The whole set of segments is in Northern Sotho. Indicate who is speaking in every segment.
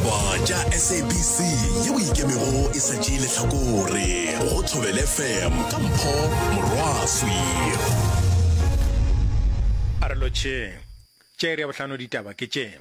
Speaker 1: Ditaba tša SABC yeo e ikemego e sa tšee lehlakore go Thobela FM ka Mpho Morwaswi.
Speaker 2: A re lotšheng. Tše iri ya bohlano ditaba ke tše.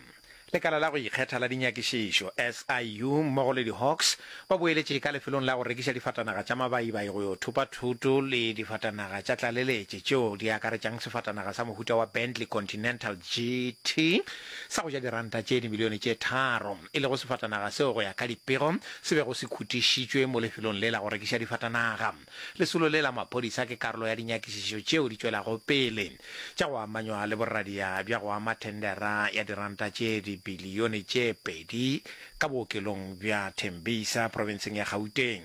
Speaker 2: Lekala la go ikgetha la dinyakišišo, SIU, mmogo le di-Hawks ba boeletše ka lefelong la go rekiša difatanaga tša mabaibai go yo thopa thoto le difatanaga tša tlaleletše tšeo di akaretšang sefatanaga sa mohuta wa Bentley Continental GT sa go ja diranta tše dimilione tše tharo, e lego sefatanaga seo go ya ka dipego se bego se khutišitšwe mo lefelong le la go rekiša difatanaga. Lesolo le la maphodisa ke karolo ya dinyakišišo tšeo di tšwelago pele tša go amanywa le boradia bja go ama thendera ya diranta tše dibilione tše pedi ka bookelong bja Tembisa profenseng ya Gauteng.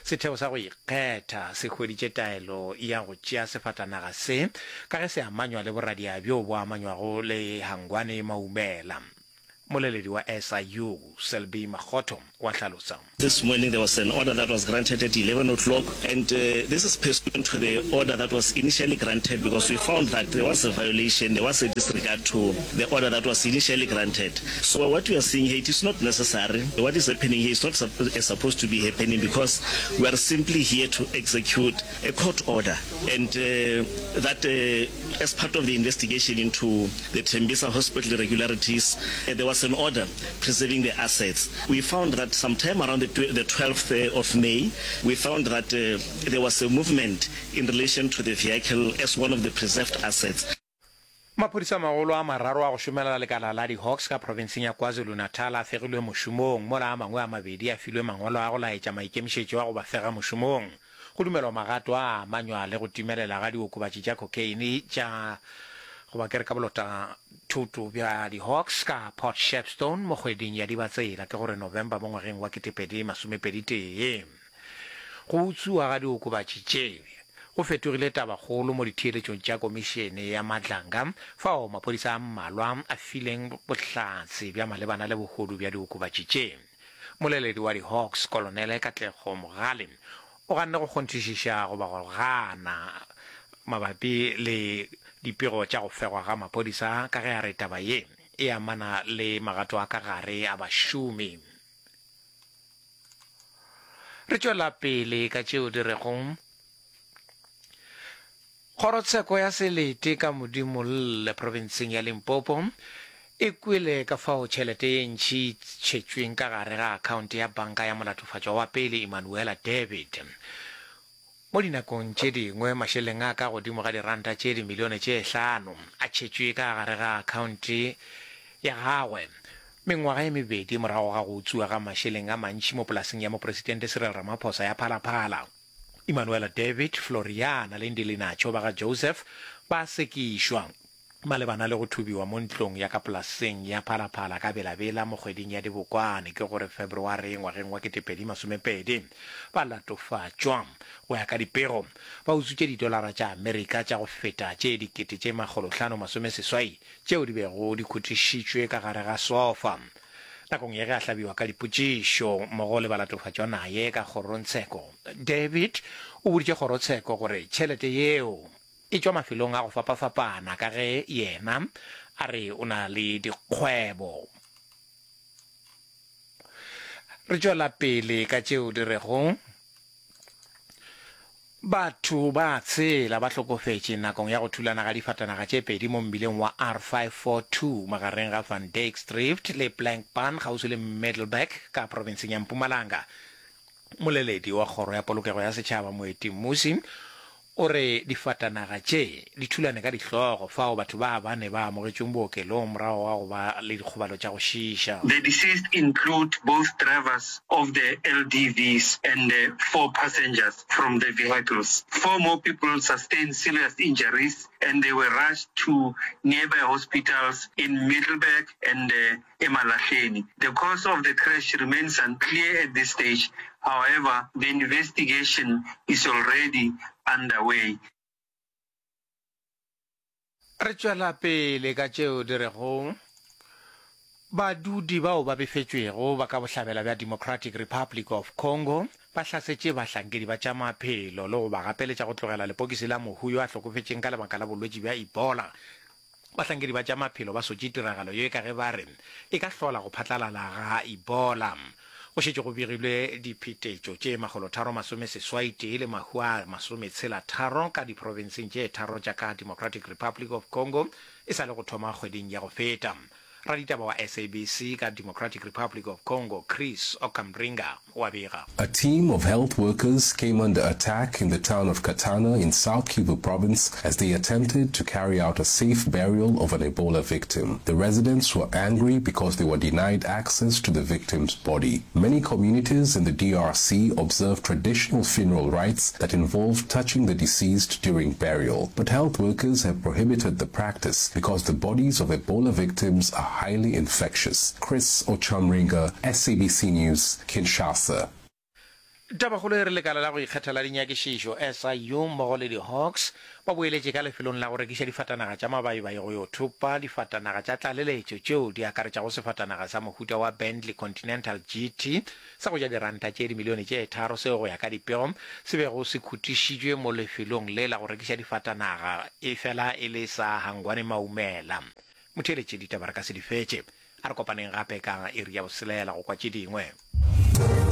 Speaker 2: Setheo sa go ikgetha se hweditše taelo ya go tšea sefatanaga se ka ge se amanywa le boradia bjo bo amanywago le Hangwane Maumela. Moleledi wa SIU, Selby Makgotho, o a hlalosa.
Speaker 3: This morning there was an order that was granted at 11 o'clock and this is pursuant to the order that was initially granted because we found that there was a violation, there was a disregard to the order that was initially granted. So what we are seeing here, it is not necessary. What is happening here is not supposed to be happening because we are simply here to execute a court order and uh, that uh, as part of the investigation into the Tembisa hospital irregularities, uh, there was an order preserving the assets. We found that sometime around the, the 12th of May, we found that uh, there was a movement in relation to the vehicle as one of the preserved assets.
Speaker 2: Maphodisa a magolo a mararo a go šomela lekala la di-Hawks ka profenseng ya KwaZulu-Natal a fegilwe mošomong, mola a mangwe a mabedi a filwe mangwalo a go laetša maikemišetšo a go ba fega mošomong. Go dumelwa magato a a amanywa le go timelela ga diokobatši tša cocaine tša goba ke re ka bolota thoto bja di-Hawks ka Port Shepstone mo kgweding ya Dibatsela, ke gore November mo ngwageng wa 2021. Go utswiwa ga diokobatši tše go fetogile tabakgolo mo ditheeletšong tša Komišene ya Madlanga, fao maphodisa a mmalwa a fileng bohlatse bja malebana le bohodu bja diokobatši tše. Moleledi wa di-Hawks, Kolonele Katlego Mogale, o ganne go kgonthišiša goba go gana mabapi le dipego tša go fegwa ga maphodisa ka ge a re taba ye e amana le magato a ka gare a bašomi. Re tšwela pele ka tšeo di rego, Kgorotsheko ya Selete ka Modimolle profenseng ya Limpopo e kwele ka fao tšhelete ye ntši e tšhetšweng ka gare ga akhaonte ya banka ya molatofatšwa wa pele Emanuela David. Mo dinakong tše dingwe mašeleng a ka godimo ga diranta tše dimilione tše hlano a tšhetšwe ka gare ga akhaonte ya gagwe mengwaga e mebedi morago ga go utswiwa ga mašeleng a mantši mo polaseng ya Mopresidente Cyril Ramaphosa ya Phala Phala. Emanuela David, Floriana le Ndilinacho ba ga Joseph ba sekišwa. Malebana le go thubiwa mo ntlong ya ka polaseng ya Phalaphala ka Bela-Bela mo kgweding ya Dibokwane, ke gore February ngwageng wa 2020, ba latofatšwa. Go ya ka dipego, ba utswitše didolara tša Amerika tša go feta tše dikete tše makgolohlano masomeseswai tšeo di bego di khutišitšwe ka gare ga sofa. Nakong ye ge a hlabiwa ka dipotšišo mmogo le balatofatšwa naye ka kgorongtsheko, David o boditše kgorotsheko gore tšhelete yeo E tšwa mafelong a go fapafapana ka ge yena a re o na le dikgwebo. Re tšwela pele ka tšeo di rego batho ba tshela ba hlokofetše nakong ya go thulana ga difatanaga tše pedi mo mmileng wa R542 magareng ga Van Dyks Drift le Blankpan kgauswi le Middelburg ka profenseng ya Mpumalanga. Moleledi wa Kgoro ya Polokego ya Setšhaba Moeti Mmusi o re difatanaga tše di thulane ka dihlogo fao batho ba bane ba amogetšweng bookelong morago ga go ba le dikgobalo tša go šiiša.
Speaker 4: The deceased include both drivers of the LDVs and four passengers from the vehicles. Four more people sustained serious injuries and they were rushed to nearby hospitals in Middelburg and Emalahleni. The cause of the crash remains unclear at this stage, however, the investigation is already underway.
Speaker 2: Re tšwela pele ka tšeo di rego badudi bao ba befetšwego ba ka bohlabela bja Democratic Republic of Congo ba hlasetše bahlankedi ba tša maphelo le go ba gapeletša go tlogela lepokisi la mohu yo a hlokofetšeng ka lebaka la bolwetši bja Ebola. Bahlankedi ba tša maphelo ba sotše tiragalo ye ka ge ba re e ka hlola go phatlalala ga Ebola. Go šetše go begilwe diphetetšo tše makgolotharo masomesesoaitee le mahu a masometshelatharo ka diprofenseng tše tharo tša ka Democratic Republic of Congo e sa le go thoma kgweding ya go feta. Raditaba wa SABC ka Democratic Republic of Congo, Chris Okamringa, o a bega.
Speaker 5: A team of health workers came under attack in the town of Katana in South Kivu province as they attempted to carry out a safe burial of an Ebola victim. The residents were angry because they were denied access to the victim's body. Many communities in the DRC observe traditional funeral rites that involve touching the deceased during burial. But health workers have prohibited the practice because the bodies of Ebola victims are highly infectious. Chris Ochamringa, SABC News, Kinshasa.
Speaker 2: Tabakgolo e re lekala la go ikgetha la dinyakišišo, SIU, mmogo le di-Hawks ba boeletše ka lefelong la go rekiša difatanaga tša mabaibai go yo thopa difatanaga tša tlaleletšo tšeo di akaretšago sefatanaga sa mohuta wa Bentley Continental GT sa go ja diranta tše dimilione tše tharo seo go ya ka dipego se bego se khutišitšwe mo lefelong le la go rekiša difatanaga efela e le sa Hangwane Maumela. Motheeletši, ditaba re ka se di fetše. A re kopaneng gape ka iri ya boselela go kwa tše dingwe.